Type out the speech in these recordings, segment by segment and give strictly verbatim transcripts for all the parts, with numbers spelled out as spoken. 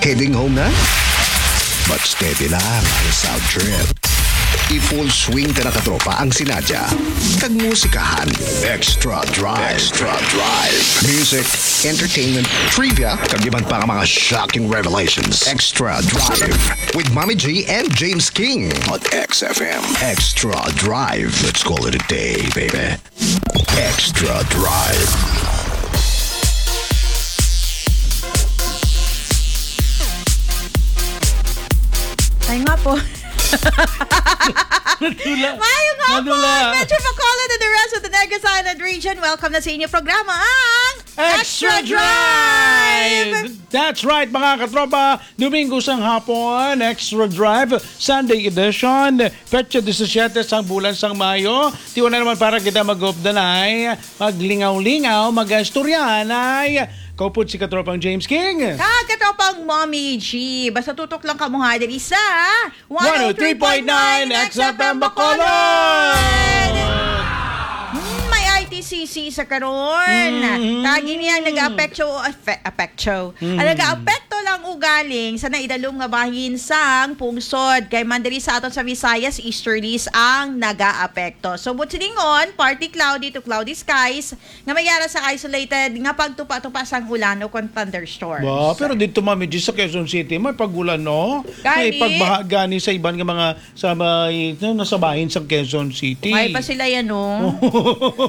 Heading home na? But steady lang ang sound trip. I-full swing ta na, katropa, ang sinadya kag musikahan. Extra Drive. Extra Drive. Music, entertainment, trivia, kag iban pa nga mga shocking revelations. Extra Drive with Mommy G and James King on X F M. Extra Drive. Let's call it a day, baby. Extra Drive. Ay nga po. Nadula. Maayong hapon, Nadula. Metro Bacolod and the rest of the Negros Island region. Welcome na sa inyong programa, ang Extra Drive! That's right, mga katropa. Domingo sang hapon, Extra Drive, Sunday edition. Petsa disisiete sang bulan sang Mayo. Tiwa na naman para kita mag-updanay, maglingaw-lingaw, mag-istoryahanay. Kaupod si katropang James King. Kag katropang Mommy G. Basta tutok lang kamo ha, diri sa One oh three point nine X F M Bacolod. Hmm, may I T C C sa karon. Mhm. Kag ini ang nag-apekto, afe-, apekto. Mhm. Ang nag-apekto lang ugaling sa naidalom nga bahin sang pungsod. Kay man diri sa aton sa Visayas, easterlies ang nag-aapekto. So, buot silingon, partly cloudy to cloudy skies nga may ara sa isolated nga pagtupa-tupa sang ulan o kon thunderstorms. Wow, pero dito, Mami G, sa Quezon City, may pagulan, no? May Gani. Pagbaha gani sa iban nga mga sa may, no, nasa bahin sa Quezon City. May pa sila yan, no?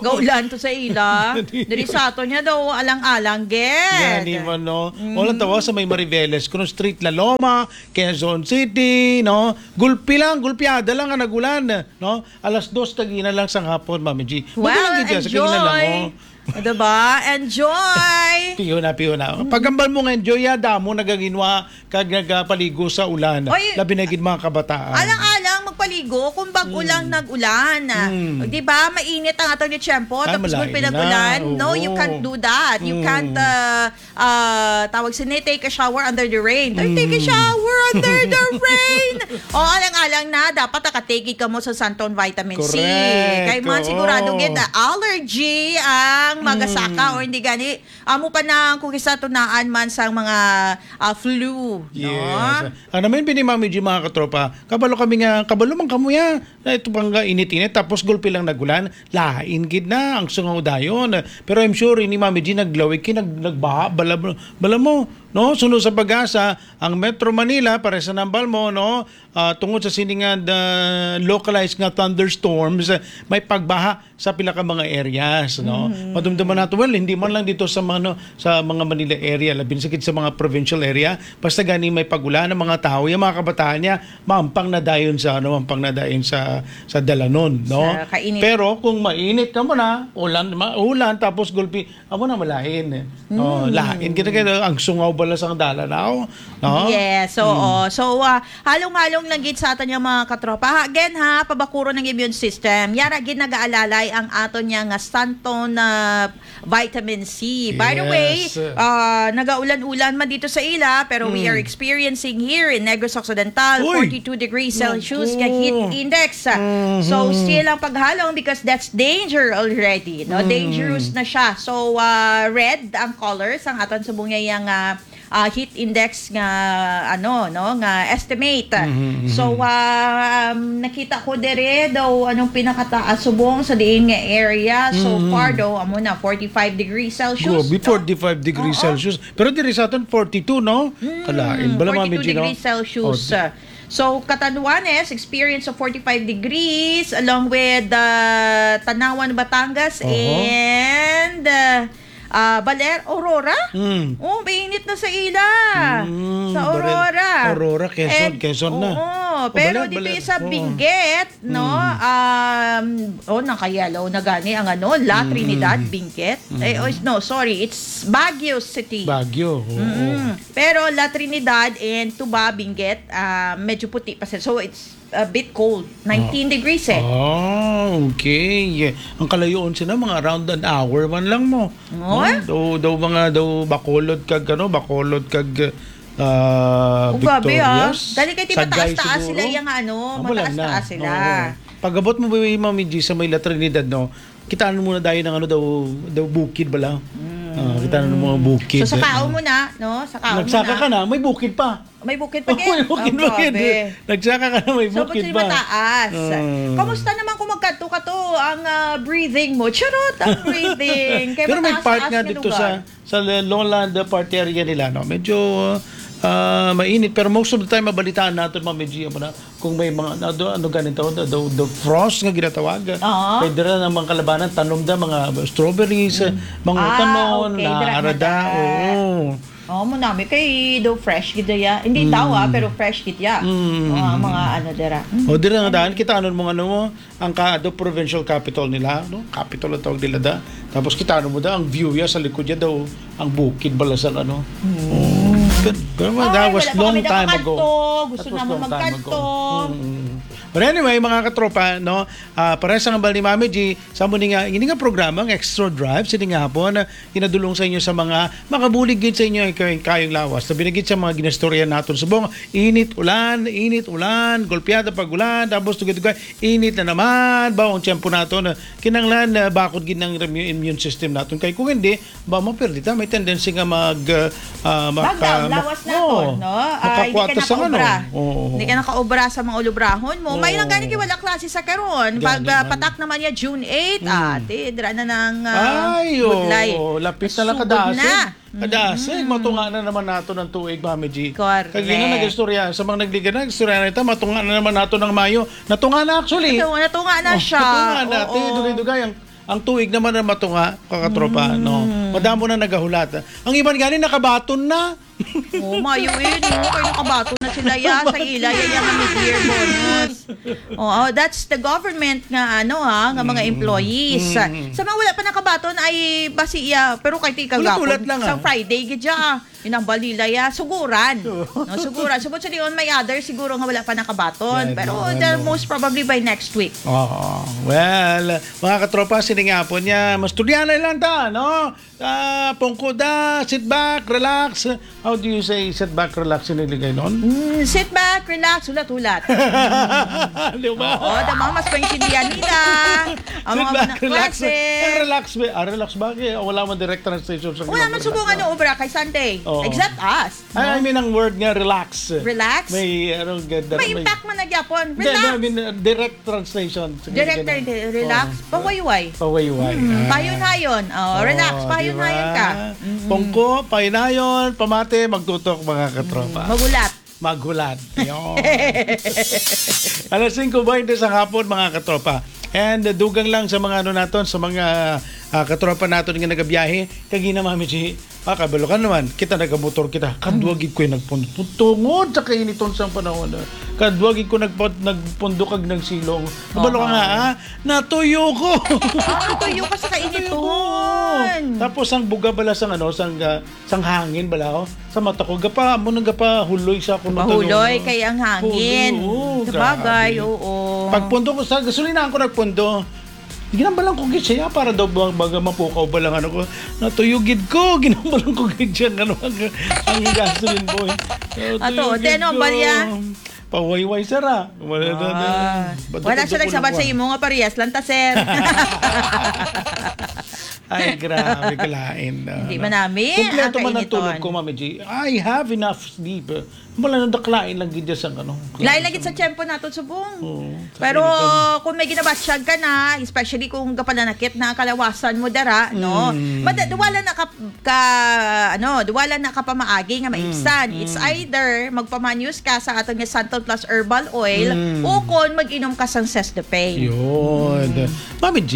Gaulan to sa ila. Diri sa ato niya daw, alang-alang, gid. Gani man, no? Wala tawa sa may Mariveles, kuno Street, La Loma, Quezon City, no? Gulpi lang, gulpiada lang ang nagulan, no? Alas dos kagina lang sang hapon, Mami G. Well, Magulan gid siya sa kagina lang, enjoy. Oh. Diba? Enjoy! Piyo na, piyo na. Pagambal mo nga enjoy, ya, damo nagaginwa kag nagapaligo sa ulan. Oy, Labi na gid mga kabataan. Alang-alang magpaligo kung bag-o lang nag-ulan. Mm. Di ba? Mainit ang atong tiyempo, Ay, tapos malain gulpi na. nag-ulan. No, you Oo. can't do that. You Mm. can't, uh, uh, tawag sini, take a shower under the rain. Or take a Mm. shower under the rain. O, alang-alang na, dapat nakatake kamo sa Santon Vitamin C. Correct. Kay man sigurado Oo. gid na allergy ang magasaka Mm. or hindi gani, amo pa na kung isa tunaan man sa mga, ah, flu. No? Yes. Ano man bini, Mami G, mga katropa? Kabalo kami nga, kabalo man kamo ya. Na ito pang nga init-init, tapos gulpi lang nagulan. Lain gid na ang sungaw dayon. Pero I'm sure ini, Mami G, naglawig kay nag, nagbaha, bala, bala mo, no? Suno sa pag-asa, ang Metro Manila, para sa nambal mo, no? Ah, tungod sa sini nga, ah, localized nga thunderstorms, may pagbaha sa pila ka mga areas, no? Madumduman nato, well, hindi man lang dito sa mga, no, sa mga Manila area, labi na sa mga provincial area, basta gani may pagulan ang mga tao, yung mga kabataan niya, mampang na dayon sa, ano, mampang na dayon sa, sa dalanon, no? Sa kainit. Pero kung mainit ka mo na, ulan, ma-, ulan, tapos gulpi, amo na malain, eh. Oh, lain kita kay ang sungaw bala sang dalanaw, no? Yes, oo. So, ah, halong-halong lang gid sa aton yung mga katropa. Ha, again ha, pabakuron ang immune system. Yara gid nagaalalay ang aton niya nga Santon na vitamin C. By the way, Yes. ah, nagaulan-ulan man dito sa ila, pero we are experiencing here in Negros Occidental, Uy! forty-two degrees Celsius nga Naku. heat index. So, Mhm. still ang paghalong because that's danger already. No? Mm. Dangerous na siya. So, ah, red ang color sang aton subong niya yung, ah, ah, heat index nga, ano, no, nga estimate. Mhm, mhm. So, ah, um, nakita ko dire daw anong pinakataas subong sa diin nga area. So Mhm. far daw, amo na, forty-five degrees Celsius. Grabe, No? forty-five degrees Oo. Celsius. Pero diri sa aton, forty-two, no? Mm, Kalain. Bala, Mami forty-two G, no? degrees Celsius. Oh, di- So, Catanduanes experience of forty-five degrees along with uh, Tanauan, Batangas Oho. and uh, uh, Baler, Aurora? Mm. Oh, mainit na sa ila. Mm, Sa Baler-, Aurora. Aurora, Quezon, And, Quezon na. oo, Oh, pero Baler, dito Baler. sa Oo. Benguet, no? Mm. Um, oh, naka-yellow na gani ang ano, La Mm. Trinidad, Benguet. Eh, oh, no, sorry, it's Baguio City. Baguio, oo. Mm. Pero La Trinidad and Tuba, Benguet, ah, medyo puti pa sila. So, it's a bit cold. Nineteen degrees eh. Ah, okay. Ang kalayoon sila, mga around an hour man lang mo. Oo. No? Daw, daw mga, daw Bacolod kag, ano, Bacolod kag, ah, Oh, grabe, ah. Victorias. Dali kay di Sagay mataas-taas siguro. sila yung ano, Amo lang na. mataas-taas sila. Oo. Pag-abot mo, Mami G, sa may La Trinidad, no? Kitaan mo na dahil ng ano daw, daw bukid bala. Mm, Ah, kita na ng mga bukid. So, sa kaon mo na, no? Sa kaon mo Nagsaka na. ka na, may bukid pa. May bukid pa Oh, gid. may bukid Oh, pa gid. grabe. Nagsaka ka na, may So, bukid pati pa. mataas. Ah. Kamusta naman kung magkadto ka to, ang, ah, breathing mo? Charot, ang breathing. Kay Pero may mataas-taas part nga nga dito lugar. sa, sa lowland, uh, part area nila, no? Medyo, uh, mainit. Pero most of the time, mabalitaan natin, Ma'am G, mo na, kung may mga, ano, ano ganito, the, the, the frost nga ginatawag. Oo. Kay dira na mga kalabanan, tanom da, mga strawberries, mga Ah, utanon, okay, dira na naara da. da. Oo. Oh, mo nami kay daw fresh gid ya. Hindi daw, ah, Mm. pero fresh gid ya. Mm. Oh, ang mga ano dira. Mm. O, dira nga Ano? daan, kita ano mo, ano mo, ang ka, do provincial capital nila, no? Capital ang tawag nila da. Tapos kita ano mo da, ang view ya sa likod ya daw, ang bukid bala sa ano. Mm. Oh, pero, pero Ay, that was wala pa long kami time ago. nakakanto. Gusto That was naman long time ago. magkanto. Mm. But anyway, mga katropa, no, ah, para sa ngambal ni Mami G, sa mo ni nga, ini nga programa, ang Extra Drive, sini nga hapon, ginadulong sa inyo sa mga makabulig gid sa inyo ang kay-, kayong lawas. Sabi na gid sa mga ginastorya naton subong, init, ulan, init, ulan, golpeada pag ulan, tapos tugay-tugay, init na naman, ba ang tiyempo naton, kinanglan, ah, bakod gid ng immune system naton. Kay kung hindi, ba mo pwede ta, may tendency nga mag, ah, ah, maka-, Baga, lawas naton, Oo. no? Ah, hindi ka Makakwata sa ano. nakaobra. Oo. Hindi ka nakaobra sa mga ulubrahon mo. May lang Oo. gani kay wala klase sa karon. Gani Pag, ah, man. patak naman niya June eight, Mm. ate, dira na nang, ah, Ay, budlay. oo. Lapit na lang Sugod kadasig. na. Kadasig, Mm. matunga na naman nato ng tuig, Mami G. Correct. Kagina nag-istorya, sa mga nagliga na, istorya na ito, matunga na naman nato ng Mayo. Natunga na, actually. Ito, natunga na Oh, siya. natunga na, ate. Oo. Dugay-dugay ang, ang tuig naman na matunga, kakatropa, Mm. no? Madamo na nagahulat. Ang iban gani, nakabaton na. Oh, Mayo eh, no? Kaya nakabaton na sila, ya, sa ila, ya, ya, nga mid-year bonus. Oh, oh, that's the government nga, ano, ha, nga mga Mm. employees. Mm. Sa mga wala pa nakabaton ay basi iya, pero kay ti Ulat-ulat kagapon, lang, sa ah. Friday gid siya, ah. Inambal nila ya, suguran. Oo. No, suguran. Subot sa diyon may other siguro nga wala pa nakabaton. Yan, Pero yan, the ano. most probably by next week. Oo. Well, mga katropa, sini nga po niya, mas tulianay lang ta, no? Ah, pungko da, sit back, relax. How do you say sit back, relax in Iligay nun? Mm, sit back, relax, hulat-hulat. Di ba? Oo, da mga mas maintindihan nila. Ang Sit mga back, mga relax. klase. Eh, relax ba? Ah, relax ba? Eh, wala man direct translation sa Wala man Ginoo. subong ano, obra kay Sunday. Oo. Except us. Ay, I No? mean, ang word nga relax. Relax? May, ano, ganda, May may impact man na gyapon. Hindi, no, I Relax. mean, uh, direct translation. Sige, Direct sige na. translation, relax. Oo. Pawayway. Pawayway. Mm, Ah. payon-hayon. Oh, Oo, relax, di payon-hayon ba? ka. Mm. Pungko, payon-hayon, pamati, magtutok, mga katropa. Mm, magulat. Maghulat. Yun. Alas singko baynte sa hapon, mga katropa. And, uh, dugang lang sa mga ano naton, sa mga, ah, katropa naton nga nagabiyahe, kagina, Mami G, ah, kabalo ka naman, kita nagamotor kita. Kadwa Mm. gid ko yung nagpundok. Tungod sa kainiton sang panahon, ah. Kadwa gid ko nagpun-, nagpundok kag nagsilong. Kabalo ka Oo. nga, ah, natuyo ko. Ah, natuyo ka sa Natuyo ko. kainiton. Tapos ang buga bala sang ano, sang, ah, sang hangin bala, oh. Sa mata ko, gapa, amo nang gapahuloy sa akong mata, Mahuloy no? kay ang hangin. Huloy, oo, Sabagay, grabe. oo. Pagpundo ko sa gasolinahan ko nagpundo. Ginambalan ko gid siya para daw ba-, baga mapukaw ba lang ano ko. Natuyo gid ko, ginambalan ko gid siya ano ang, ang gasoline boy. Natuyo Ato, gid te, ano, ko. balya? Pawayway sara. Wala na, na. Ah. Bato-bato Wala siya ko nagsabat lang sa ko. imo nga parehas lang ta, sir. Ay, grabe, kalain na, Hindi ano. man namin Kompleto ang man ang tulog kainiton. ko, Mami G. I have enough sleep. Wala nang daklain lang gid sa ano. Lain lagi sa tiyempo naton subong. Oo, sa Pero kainiton. kung may ginabatsyag ka na, especially kung kapalanakit na ang kalawasan mo dara, no? Mm. Mada-, wala na ka, ka, ano, wala na ka pamaagi nga maibsan. Mm, It's mm. either magpamanyos ka sa aton nga Santon Plus Herbal Oil Mm. o kon mag-inom ka sang Cesdepane. Yun. Mm. Mami G,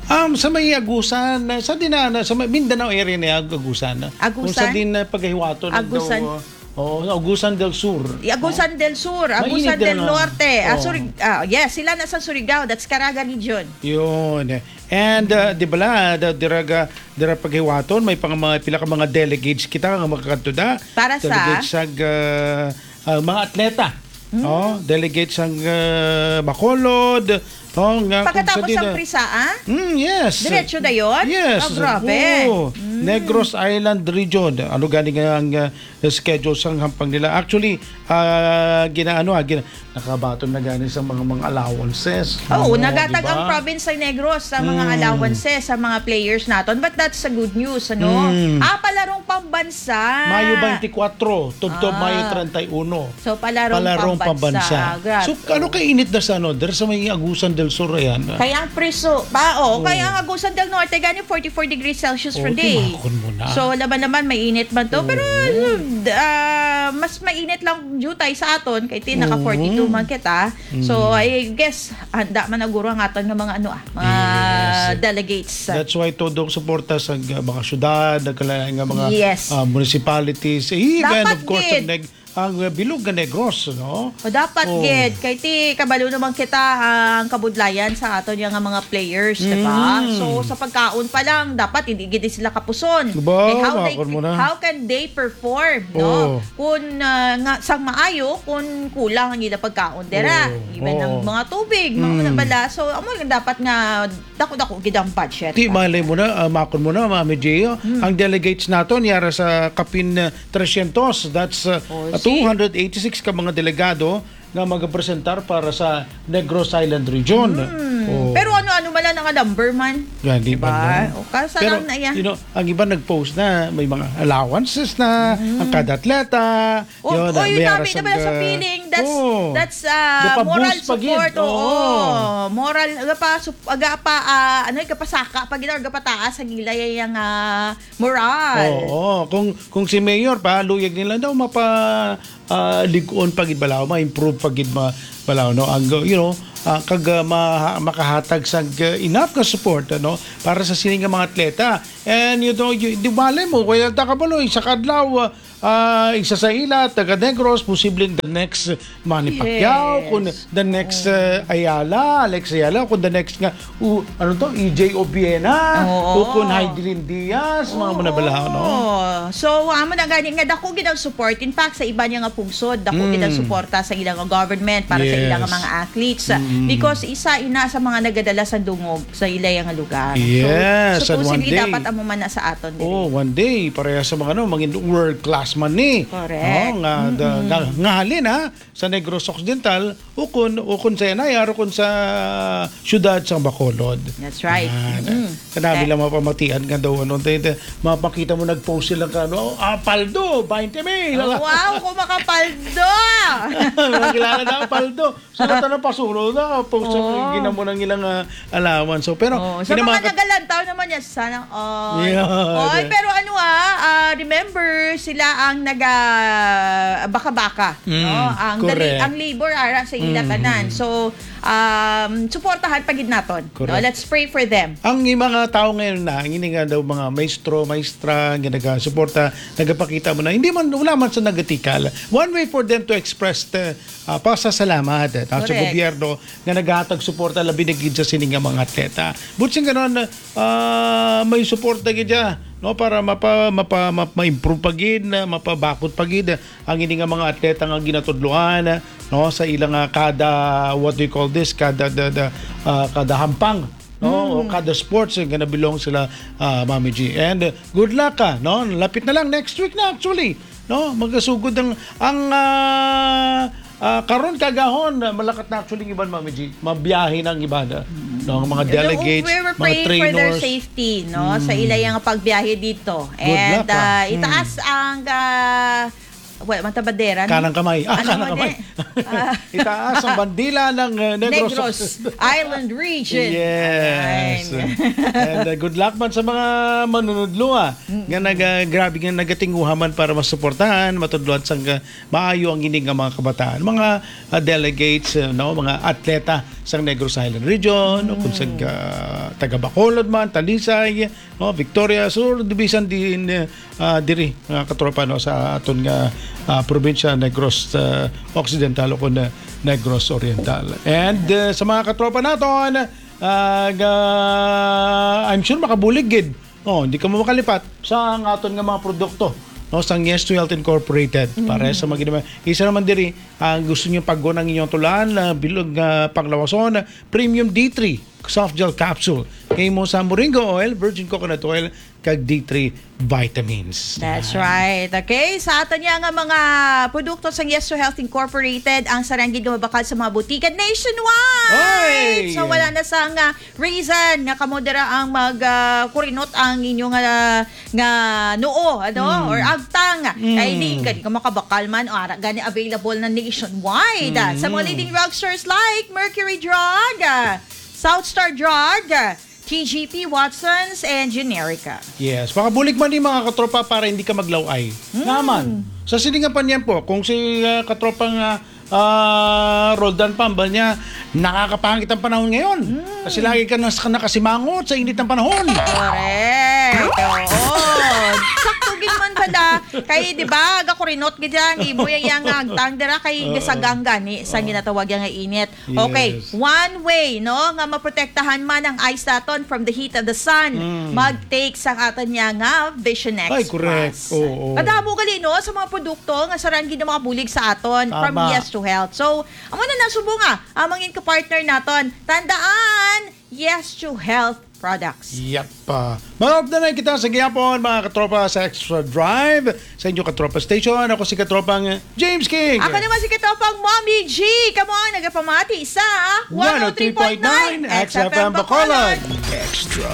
um, sa may Agusan, sa din na, na- sa may Mindanao area na Agusan. Kung sa Agusan? din na paghiwaton ng Agusan. daw, oh, Agusan del Sur. I Agusan Oh. del Sur, Mainit Agusan din, del ano? Norte. Ah, Oh. Surig-, ah, yes, sila na sa Surigao. That's Caraga region. Yun. And, uh, di bala, da, dira ga, dira paghiwaton, may pang mga, pila ka mga delegates kita nga makakadto da. Para sa? Delegates sa, uh, uh, mga atleta. Hmm. Oh, delegates sang, uh, Bacolod. Oh, nga kung Pagkatapos sa ng di na Prisa, ah? Mm, yes. Diretso dayon? Yes. Ah, grabe. Oo. Mm. Negros Island Region. Ano gani nga ang, uh, schedule sang hampang nila? Actually, ah, gina-, ano, ah, gina-, nakabaton na gani sa mga, mga allowances. Oo, Oo, nagatag di ba? ang province sa Negros sa mga Mm. allowances sa mga players naton, but that's a good news, ano? Mm. Ah, palarong pambansa. Mayo twenty-four, tubtob Ah. Mayo treinta y uno. So, palarong, Palarong pambansa. pambansa. Ah, grabe. So, ano kay init na sa ano? Dere sa may Agusan del Sur, ayan. Kaya ang preso, pa, oh, Oo. kaya ang Agusan del Norte, gani forty-four degrees Celsius Oh, per day. timakon mo na. So, laban naman, mainit man to. Pero, Oo. ah, mas mainit lang jutay sa aton, kay ti naka Oo. forty-two man kita. So, Mm. I guess, handa man naguro ang aton nga mga, ano, ah, mga Yes. delegates. That's why todo ang suporta sa uh, mga syudad, nagkalain nga mga Yes. uh, municipalities. Eh, and Dapat of course, gid. ang, neg- ang uh, bilog nga Negros, no? O dapat Oh. gid, kay ti kabalo naman kita ang kabudlayan sa aton nga mga players, di ba? Mm. So, sa pagkaon pa lang, dapat hindi gid sila kapuson. Ba, Kay how, they, makon mo na. how can they perform, no? Oh. Kung ah, nga sang maayo, kung kulang ang ila pagkaon dira, Oh. even ang Oh. mga tubig, mga Mm. una bala. So, amo lang dapat nga dako-dako gid ang budget. Ti malay mo na, ah, makon mo na, Mami Gio, Mm. ang delegates naton yara sa kapin uh, trescientos, that's uh, Oh, see? two hundred eighty-six ka mga delegado nga magapresentar para sa Negros Island Region. Hmm. Oh. Pero ano-ano man lang nga number man. Yan, di Diba? ba? O, kasa Pero, lang na yan. you know, ang iba nag-post na may mga allowances na, ang kada atleta. O, Yun, oy, may kami aras na ang, pala sa uh, feeling. That's, oh. that's uh, Gapa-boost moral pa gid. support. Oo. Oo. Moral, gapa, sup, aga pa, ah, ano, gapasaka pa gid, or gapataas ang ila yung uh, moral. Oo, kung kung si Mayor pa luyag nila daw mapa ah, lig-on pa gid balaw, ma-improve pa gid ma balaw, no, ang, you know, ah, kag ah, ma makahatag sang ah, enough ka support, ano, para sa sini nga mga atleta. And you know, you, di bale mo, kaya ta kabalo, isa ka adlaw, ah, ah, isa sa ila taga Negros, posibleng the next Manny Pacquiao, Yes. Kung the next uh, Ayala, Alex Ayala, kung the next nga, uh, ano to, E J Obiena, Oo. o kung Heidelin Diaz, mga manabalaw, no? Oo. So, amo na gani nga dako gid ang support. In fact, sa iba niya nga pungsod, dako gid ang Mm. suporta sa ilang government para sa ilang Yes. mga athletes. Mm. Because isa ina sa mga nagadala sa dungog sa ila nga lugar. Yes, So, and one supposedly day. dapat amo man na sa aton diri. Oh, one day, pareha sa mga ano, mga world class man ni. Correct. No, nga, da- nga, nga halin, ha, sa Negros Occidental, ukon, ukon sa Anay, aro kun sa siyudad sa Bacolod. That's right. Yan. Mm. Kanabi Eh. lang mapamatian nga daw, ano, te, te, mapakita mo nag-post sila ka, ano, "Ah, paldo, twenty mil." Oh, wow, kung makapaldo! Mga kilala na ang paldo. So, ito na pasuro na, post Oo. ginamo ng ilang ah, allowance. So, pero, Oh, sa kinamaka- mga nagalantaw naman niya, sana all. Yeah, Oy, yeah. Pero ano ah, ah, remember sila ang naga baka-baka, Mm, no? Ang correct. dali, ang labor ara sa ila Mm, tanan. mm. So, um, suportahan pa gid naton, no? Correct. Let's pray for them. Ang mga tao ngayon na, ang ini nga daw mga maestro, maestra, nga nagasuporta, nagapakita mo na, hindi man, wala man sa nagatikal. One way for them to express the, ah, pasasalamat eh, sa Correct. gobyerno nga naghatag suporta, labi na gid sa sini nga mga atleta. But sing ganon, ah, may suporta gid siya, no, para mapa, mapa, ma, ma-improve pa gid, na mapabakod pa gid ang ini nga mga atleta nga ginatudloan, no, sa ilang ah, kada, what do you call this, kada, da, da, ah, kada hampang, no, o kada sports nga nabilong sila, ah, Mami G. And uh, good luck ka, no? Lapit na lang, next week na actually, no? Magasugod ang ang ah, ah, karon kagahon, malakat na actually ang iban, Mami G. Mabiyahe na ang iban, ah, no, ang mga You know, delegates, we were mga praying for their trainers. safety, no? Sa ila yung pagbiyahe dito. Good And luck, ah. ah, Mm. itaas ang ah, wala man ta bandera, no? Kanang kamay. Ah, Ano kanang man kamay. eh? Ah. Itaas ang bandila ng uh, Negros. Negros Island Region. Yes. Ayan. And uh, good luck man sa mga manunudlo ah, nga nag, uh, grabe nga nagatinguha man para masuportahan, matudloan sang uh, maayo ang ini nga mga kabataan, mga uh, delegates, uh, no, mga atleta sa Negros Island Region, o kung sa uh, taga Bacolod man, Talisay, no, Victoria Sur, bisan din uh, ah, diri, mga katropa, no, sa aton nga ah, probinsya, Negros ah, Occidental o kun, ah, Negros Oriental. And ah, sa mga katropa naton, ah, nga, I'm sure makabulig gid. Oh, hindi ka mo makalipat sa ang aton nga mga produkto, no, sa Yes to Health Incorporated. Para sa mga ginama-, isa naman diri ang gusto niyo pag-on ang inyong tulaan na bilog nga panglawason, Premium D three soft gel capsule. Kay mo sa moringa oil, virgin coconut oil, kag D three vitamins. That's Yan. Right. Okay, sa aton niya nga mga produkto sa Yes to Health Incorporated, ang sarang gid nga mabakal sa mga butika nationwide. Oy! So wala na sang ah, reason nga kamo dira ang mag ah, kurinot ang inyo nga nga noo, ano, Mm. or agtang. Mm. Kay di gani ka makabakal man, o ara gani available na nationwide. ah, Sa mga Mm. leading drugstores like Mercury Drug, ah, South Star Drug, ah, T G P, Watsons, and Generica. Yes, makabulig man ni mga katropa para hindi ka maglaway. Mm. Naman, sa silingan pa niyan po, kung si ah, katropang ah, ah, Roldan Pambal niya, nakakapangit ang panahon ngayon. Mm. Kasi lagi ka nas- nakasimangot sa init ng panahon. Correct. Oo. Sakto gid man pala. Kay, di ba, gakurinot gid yan. Imo yang yang agtang dira kay Oo. Gasagang gani sa ginatawag yang nga init. Yes. Okay, one way, no, nga maprotektahan man ang eyes naton from the heat of the sun, Mm. mag-take sa aton niya nga Vision X Ay, correct. Plus. Oo. Kadamo gali, no, sa mga produkto nga sarang gid makabulig sa aton from Tama. Yes to Health. So, amo na nasubo nga ang mga ka-partner naton. Tandaan, Yes to Health products. Yep. Ah, mga updanay kita sa gihapon, mga katropa sa Extra Drive, sa inyo katropa station. Ako si katropang James King. Ako naman si katropang Mommy G. Kamo ang nagapamati sa One oh three point nine X F M Bacolod. Extra